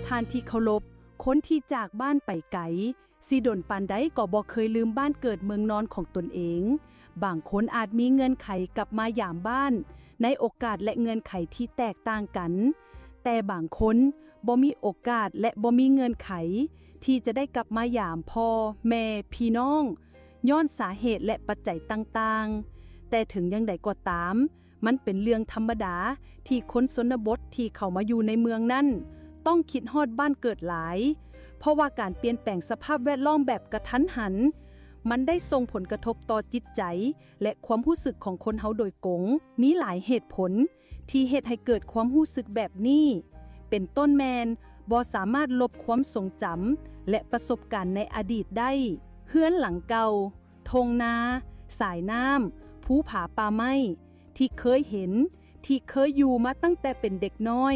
ທ່ານທີ່ເຄົາລົບ, ຄົນທີ່ຈາກບ້ານໄປໄກ ຊິດົນປານໃດກໍບໍ່ເຄີຍລືມບ້ານເກີດເມືອງນອນຂອງຕົນເອງ. ບາງຄົນອາດມີເງື່ອນໄຂກັບມາຢາມບ້ານໃນໂອກາດ ແລະ ເງື່ອນໄຂທີ່ແຕກຕ່າງກັນ, ແຕ່ບາງຄົນບໍ່ມີໂອກາດ ແລະ ບໍ່ມີເງື່ອນໄຂທີ່ຈະໄດ້ກັບມາຢາມພໍ່ແມ່ພີ່ນ້ອງ ຍ້ອນສາເຫດ ແລະ ປັດໄຈຕ່າງໆ. ແຕ່ເຖິງຢ່າງໃດກໍຕາມ, ມັນເປັນເລື່ອງທຳມະດາທີ່ຄົນຊົນນະບົດທີ່ເຂົ້າມາຢູ່ໃນເມືອງນັ້ນ ຕ້ອງຄິດຮອດບ້ານເກີດຫຼາຍ, ເພາະວ່າການປ່ຽນແປງສະພາບແວດລ້ອມແບບກະທັນຫັນ ມັນໄດ້ສົ່ງຜົນກະທົບຕໍ່ຈິດໃຈ ແລະ ຄວາມຮູ້ສຶກຂອງຄົນເຮົາໂດຍກົງ. ມີຫຼາຍເຫດຜົນທີ່ເຮັດໃຫ້ເກີດຄວາມຮູ້ສຶກແບບນີ້, ເປັນຕົ້ນແມ່ນບໍ່ສາມາດລົບຄວາມຊົງຈຳ ແລະ ປະສົບການໃນອະດີດໄດ້. ເຮືອນຫຼັງເກົ່າ, ທົ່ງນາ, ສາຍນ້ຳ, ພູຜາປ່າໄມ້ ທີ່ເຄີຍເຫັນ, ທີ່ເຄີຍຢູ່ມາຕັ້ງແຕ່ເປັນເດັກນ້ອຍ,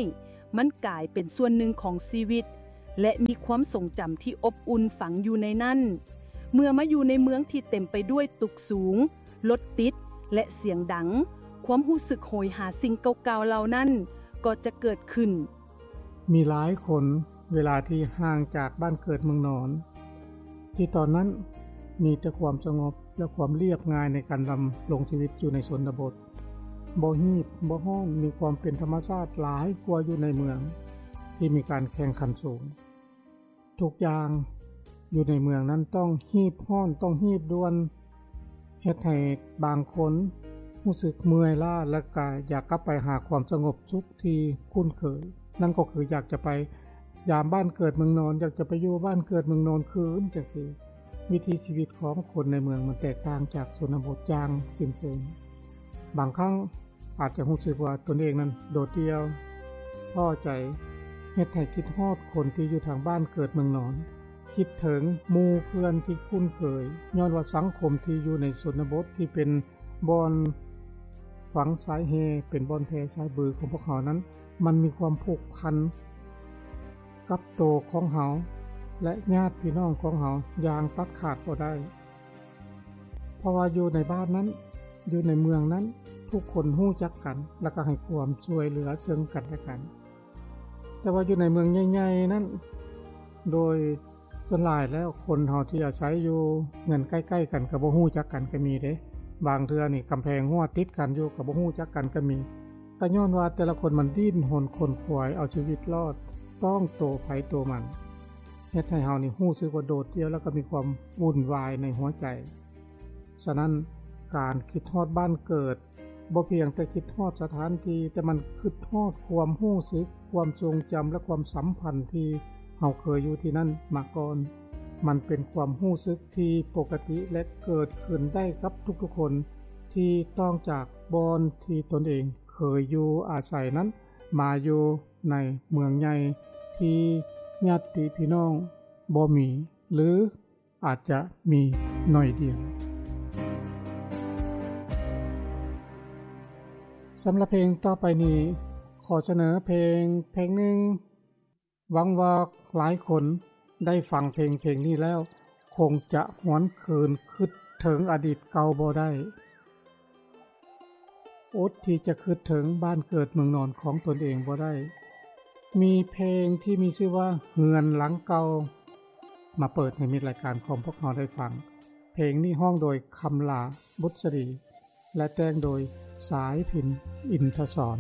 ມັນກາຍເປັນສ່ວນໜຶ່ງຂອງຊີວິດ ແລະ ມີຄວາມຊົງຈຳທີ່ອົບອຸ່ນຝັງຢູ່ໃນນັ້ນ. ເມື່ອມາຢູ່ໃນເມືອງທີ່ເຕັມໄປດ້ວຍຕຶກສູງ, ລົດຕິດ ແລະ ສຽງດັງ, ຄວາມຮູ້ສຶກໂຫຍຫາສິ່ງເກົ່າໆເຫຼົ່ານັ້ນກໍຈະເກີດຂຶ້ນ. ມີຫຼາຍຄົນ ເວລາທີ່ຫ່າງຈາກບ້ານເກີດເມືອງນອນ ທີ່ຕອນນັ້ນມີແຕ່ຄວາມສະຫງົບ ແລະ ຄວາມລຽບງ່າຍໃນການດຳລົງຊີວິດຢູ່ໃນຊົນນະບົດ, ບໍ່ຮີດບໍ່ຮ້ອນ, ມີຄວາມເປັນທຳມະຊາດຫຼາຍກວ່າຢູ່ໃນເມືອງທີ່ມີການແຂ່ງຂັນສູງ. ທຸກຢ່າງຢູ່ໃນເມືອງນັ້ນຕ້ອງຮີບຮ້ອນ, ຕ້ອງຮີບດ່ວນ, ເຮັດໃຫ້ບາງຄົນຮູ້ສຶກເມື່ອຍລ້າ ແລະ ກະຢາກກັບໄປຫາຄວາມສະຫງົບສຸກທີ່ຄຸ້ນເຄີຍ. ນັ້ນກໍຄືຢາກຈະໄປຢາມບ້ານເກີດເມືອງນອນ, ຢາກຈະໄປຢູ່ບ້ານເກີດເມືອງນອນຄືນຈັ່ງຊີ້. ວິຖີຊີວິດຂອງຄົນໃນເມືອງມັນແຕກຕ່າງຈາກຊົນນະບົດຢ່າງສິ້ນເຊີງ. ບາງຄັ້ງອາດຈະຮູ້ສຶກວ່າຕົນເອງນັ້ນໂດດດ່ຽວ, ທໍ້ໃຈ, ເຮັດໃຫ້ຄິດຮອດຄົນທີ່ຢູ່ທາງບ້ານເກີດເມືອງນອນ, ຄິດເຖິງໝູ່ເພື່ອນທີ່ຄຸ້ນເຄີຍ, ຍ້ອນວ່າສັງຄົມທີ່ຢູ່ໃນຊົນນະບົດທີ່ເປັນບ່ອນຝັງສາຍແຮ່, ເປັນບ່ອນແຜ່ສາຍບືຂອງພວກເຮົານັ້ນ, ມັນມີຄວາມຜູກພັນກັບໂຕຂອງເຮົາ ແລະ ຍາດພີ່ນ້ອງຂອງເຮົາຢ່າງຕັດຂາດບໍ່ໄດ້. ເພາະວ່າຢູ່ໃນບ້ານນັ້ນ, ຢູ່ໃນເມືອງນັ້ນ, ທຸກຄົນຮູ້ຈັກກັນ ແລ້ວກໍໃຫ້ຄວາມຊ່ວຍເຫຼືອເຊິ່ງກັນແລະກັນ. ແຕ່ວ່າຢູ່ໃນເມືອງໃຫຍ່ໆນັ້ນ, ໂດຍສ່ວນຫຼາຍແລ້ວຄົນເຮົາທີ່ອາໄສຢູ່ເຮືອນໃກ້ໆກັນກໍບໍ່ຮູ້ຈັກກັນກໍມີເດ້. ບາງເທື່ອນີ້ກຳແພງຮົ້ວຕິດກັນຢູ່ກໍບໍ່ຮູ້ຈັກກັນກໍມີ. ກໍຍ້ອນວ່າແຕ່ລະຄົນມັນດີ້ນຮົນຂົນຂວາຍເອົາຊີວິດລອດ, ຕ້ອງໂຕໃຜໂຕມັນ, ເຮັດໃຫ້ເຮົານີ້ຮູ້ສຶກວ່າໂດດດ່ຽວ ແລ້ວກໍມີຄວາມວຸ່ນວາຍໃນຫົວໃຈ. ສະນັ້ນ, ການຄິດຮອດບ້ານເກີດ ບໍ່ພຽງແຕ່ຄິດຮອດສະຖານທີ່, ແຕ່ມັນຄິດຮອດຄວາມຮູ້ສຶກ, ຄວາມຊົງຈຳ ແລະ ຄວາມສຳພັນທີ່ເຮົາເຄີຍຢູ່ທີ່ນັ້ນມາກ່ອນ. ມັນເປັນຄວາມຮູ້ສຶກທີ່ປົກກະຕິ ແລະ ເກີດຂຶ້ນໄດ້ກັບທຸກໆຄົນທີ່ຕ້ອງຈາກບ່ອນທີ່ຕົນເອງເຄີຍຢູ່ອາໄສນັ້ນ ມາຢູ່ໃນເມືອງໃຫຍ່ທີ່ຍາດຕິພີ່ນ້ອງບໍ່ມີ ຫຼື ອາດຈະມີໜ້ອຍດຽວ. ສຳລັບເພງຕໍ່ໄປນີ້, ຂໍສະເໜີເພງເພງໜຶ່ງ. ຫວັງວ່າຫຼາຍຄົນໄດ້ຟັງເພງເພງນີ້ແລ້ວ ຄົງຈະຫວນຄືນຄິດເຖິງອະດີດເກົ່າບໍ່ໄດ້. ອົດທີ່ຈະຄິດເຖິງບ້ານເກີດເມືອງນອນຂອງຕົນເອງບໍ່ໄດ້. ມີເພງທີ່ມີຊື່ວ່າເຮືອນຫຼັງເກົ່າ ມາເປີດໃຫ້ມິດລາຍການຂອງພວກເຮົາໄດ້ຟັງ. ເພງນີ້ຮ້ອງໂດຍຄຳຫຼ້າ ບຸດສະດີ ແລະ ແຕ່ງໂດຍສາຍພິນ ອິນທະສອນ.